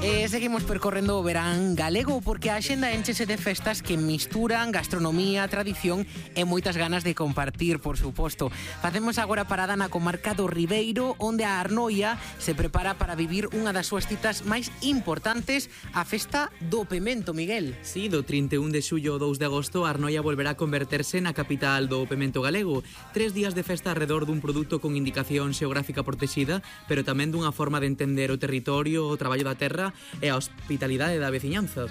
Seguimos percorrendo o verán galego porque a axenda enchese de festas que misturan gastronomía, tradición e moitas ganas de compartir, por suposto. Facemos agora parada na comarca do Ribeiro, onde a Arnoia se prepara para vivir unha das súas citas máis importantes, a festa do pemento, Miguel. Sí, do 31 de xullo ao 2 de agosto, a Arnoia volverá a converterse na capital do pemento galego. 3 días de festa alrededor dun produto con indicación xeográfica protexida, pero tamén dunha forma de entender o territorio, o traballo da terra e a hospitalidade da veciñanza.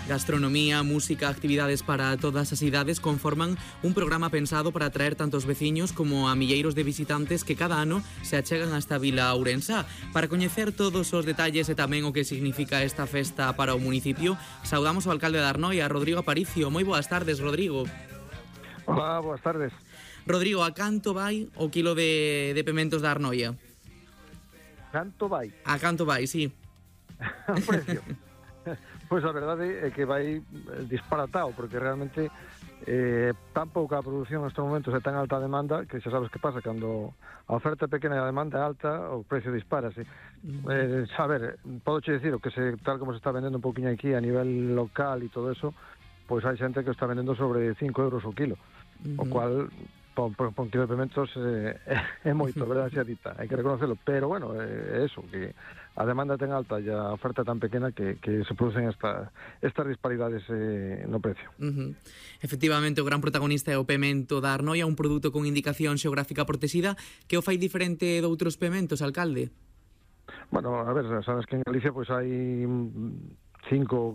Gastronomía, música, actividades para todas as idades conforman un programa pensado para atraer tanto os veciños como a milleiros de visitantes que cada ano se achegan a esta vila ourensá. Para coñecer todos os detalles e tamén o que significa esta festa para o municipio, saudamos ao alcalde de Arnoia, Rodrigo Aparicio. Moi boas tardes, Rodrigo. Hola, boas tardes. Rodrigo, a canto vai o quilo de pementos da Arnoia? Canto vai? A canto vai, sí. O precio? Pois a verdade é que vai disparatado, porque realmente tan pouca a produción nestes momentos e tan alta a demanda que xa sabes que pasa, cando a oferta é pequena e a demanda é alta, o precio disparase. A ver, podo che dicir que tal como se está vendendo un poquinho aquí a nivel local e todo eso, pois hai xente que está vendendo sobre 5 euros o kilo, o cual por un kilo de pimentos é moito, verdade xa dita, hai que reconocerlo, pero bueno, é eso, que a demanda ten alta e a oferta tan pequena que se producen estas disparidades no precio. Efectivamente, o gran protagonista é o pemento da Arnoia, un produto con indicación xeográfica protexida. Que o fai diferente de outros pementos, alcalde? Bueno, a ver, sabes que en Galicia pois hai cinco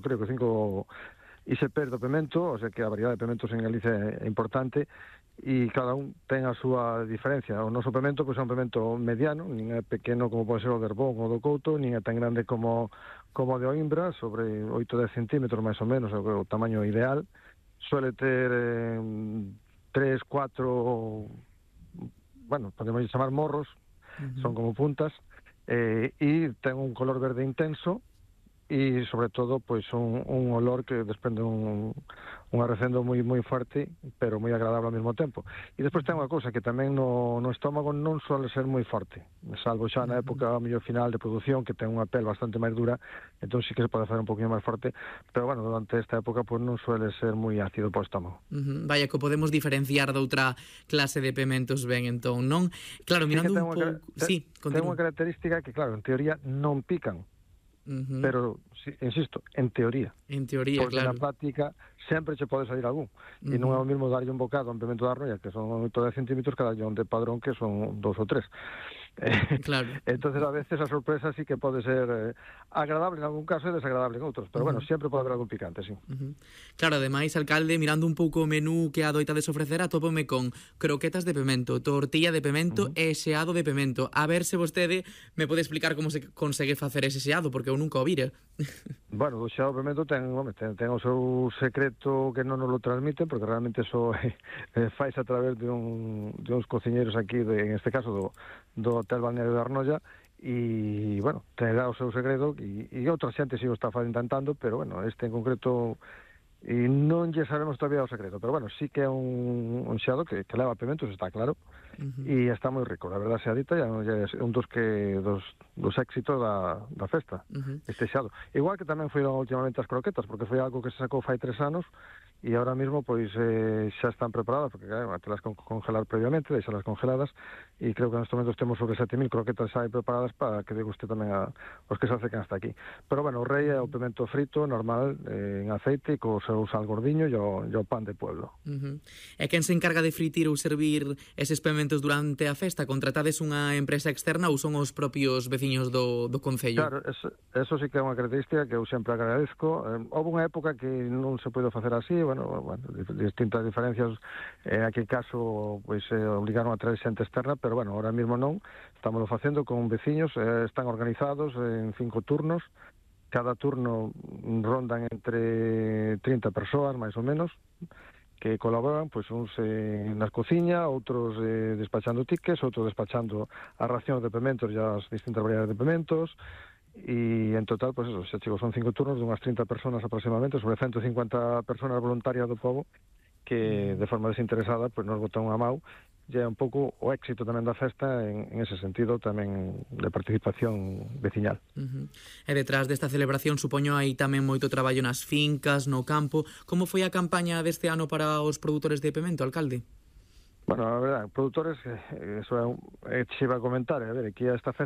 ISPs do pemento, o sea que a variedade de pementos en Galicia é importante, e cada un ten a súa diferencia. O noso pemento pois é un pemento mediano, nin é pequeno como pode ser o de Herbón ou do Couto, nin é tan grande como o de Oimbra, sobre 8-10 centímetros máis ou menos, é o tamaño ideal. Suele ter 3, 4, bueno, podemos chamar morros, son como puntas, e ten un color verde intenso, e sobre todo pois un olor que desprende un arrecendo moi forte, pero moi agradable ao mesmo tempo. E despois ten unha cousa que tamén no estómago non suele ser moi forte, salvo xa na época ao mellor final de produción, que ten unha pel bastante máis dura, entón sí que se pode facer un poquinho máis forte, pero bueno, durante esta época pois non suele ser moi ácido para o estómago. Vaya, que podemos diferenciar de outra clase de pementos ben, entón, non? Claro, mirando un pouco... Sí, ten unha característica que, claro, en teoría non pican, pero, insisto, en teoría. En teoría, porque claro. na práctica sempre che pode salir algún. E non é o mesmo darlle un bocado a un pemento da Arnoia, que son 8-10 centímetros, cada un de padrón, que son 2 ou 3. Claro. Entonces a veces a sorpresa sí que pode ser agradable en algún caso e desagradable en outros, pero bueno, sempre pode haber algún picante, sí. Claro, ademais, alcalde, mirando un pouco o menú que adoitades ofrecer, atópome con croquetas de pemento, tortilla de pemento e xeado de pemento. A ver se vostede me pode explicar como se consegue facer ese xeado, porque eu nunca o vira. Bueno, o xeado de pemento ten o seu secreto que non nos lo transmiten, porque realmente eso fais a través de uns cociñeiros aquí, en este caso do Hotel Balneario de Arnoia, e, bueno, terá o seu segredo, e outra xente si o está intentando, pero, bueno, este en concreto e non lle sabemos todavía o secreto, pero, bueno, sí que é un xeado que leva pementos, está claro, e está moi rico, a verdade sea dita, é un dos éxitos da festa, este xeado. Igual que tamén foron últimamente as croquetas, porque foi algo que se sacou fai 3 anos, e ahora mismo pois xa están preparadas, porque claro, hai que las congelar previamente, deixalas congeladas, e creo que nestes momentos temos sobre 7.000 croquetas xa preparadas para que deguste tamén os que se acercan hasta aquí. Pero bueno, o rei é o pemento frito, normal, en aceite, co seu sal gordiño e o pan de pueblo. E quen se encarga de fritir ou servir eses pementos durante a festa? Contratades unha empresa externa ou son os propios veciños do concello? Claro, eso sí que é unha característica que eu sempre agradezco. Houve unha época que non se pode facer así, bueno, distintas diferencias, en aquel caso pois obligaron a traer xente externa, pero bueno, ahora mismo non, estamos facendo con veciños, están organizados en 5 turnos, cada turno rondan entre 30 persoas, máis ou menos, que colaboran, pois uns nas cociña, outros despachando tickets, outros despachando as racións de pementos e as distintas variedades de pementos, e en total, pois eso, xa chegou, son 5 turnos de unhas 30 personas aproximadamente, sobre 150 personas voluntarias do pobo, que de forma desinteresada, pois nos botan unha mau, lle é un pouco o éxito tamén da festa en ese sentido tamén de participación veciñal. E detrás desta celebración supoño hai tamén moito traballo nas fincas, no campo. Como foi a campaña deste ano para os produtores de pemento, alcalde? Bueno, a verdade, produtores, eso é, se iba a comentar, a ver, aquí esta festa